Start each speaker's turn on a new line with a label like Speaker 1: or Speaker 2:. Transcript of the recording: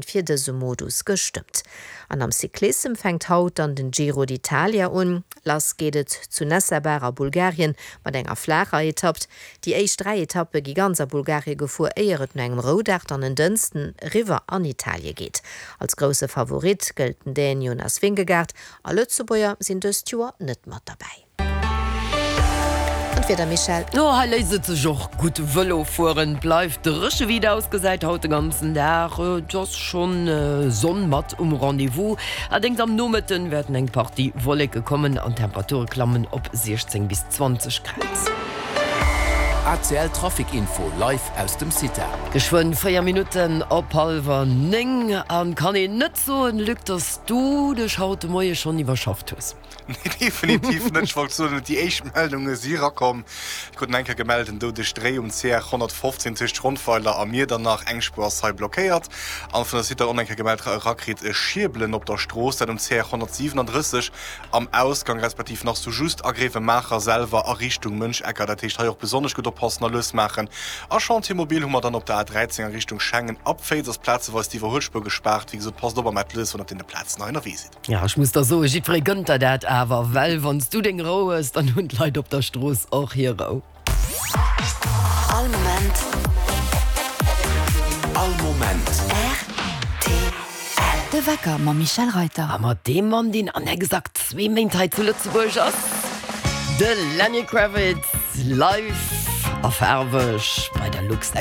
Speaker 1: Fir dëse Modus gestëmmt. An am Cyclissem fänkt haut dann den Giro d'Italia un. Lass geet et zu Nessebar a Bulgarien mat enger flaacher Etapp. Déi éischt 3 Etappe gi ganz a Bulgarie gefuer, éier et no engem Roudag dann en Dënsten eriwwer an Italie geet. Als grousse Favorit gëllt den Dän Jonas Vingegaard a Lëtzebuerger sinn dëst Joer net mat derbäi. An d'Wieder, Michèle?
Speaker 2: No hei léisst et sech och gutt Vëlo fueren. Bleift dréche wéi et ausgesäit haut de ganzen Dag. Et ass schonn Sonn mat um Rendez-vous. Allerdéngs am Nomëtten wäerten eng Partie Wolleke kommen an d'Temperature klammen op 16 bis 20 Grad.
Speaker 3: ACL Trafic Info live aus dem CITA.
Speaker 2: Geschwënn 4 Minutten op hallwer 9 an kann een net soen, Luc, dass du dech haut de Moie schonn iwwerschafft hues?
Speaker 4: Nee, definitiv net. Ech wollt soen, déi éischt Meldunge si erakomm. Ech krut eng Kéier gemellt, en doudeg Dréi um CR 115 tëscht Rondweiler a Miedernach. Eng Spuer ass hei blockéiert. An vun der Suite dann och eng Kéier gemellt erakritt, e Schierbelen op der Strooss, dat um CR 137 am Ausgang, respektiv nach sou just a Gréiwemaacher selwer a Richtung Mënschecker. Dat heescht hei och besonnesch gutt oppassen a lues maachen. A Chantier mobil hu mer dann op der A13 a Richtung Schengen. Ab Féiz ass plazeweis d'Iwwerhuelspuer gespaart. Wéi gesot, passt op a maacht lues, wann der op deene Plazen hei ënnerwee sidd.
Speaker 2: Ja, ech muss der soen, jiddweree gënnt der dat awer, well wann s du deng Rou hues, dann hunn d'Leit op der Strooss och hir Rou.
Speaker 3: All Moment. All Moment.
Speaker 5: Rtl. De Wecker mam Michèle Reyter.
Speaker 2: A mat deem Mann, deen an exakt zwee Méint hei zu Lëtzebuerg ass, de Lenny Kravitz, live a faarweg bei der Luxexpo.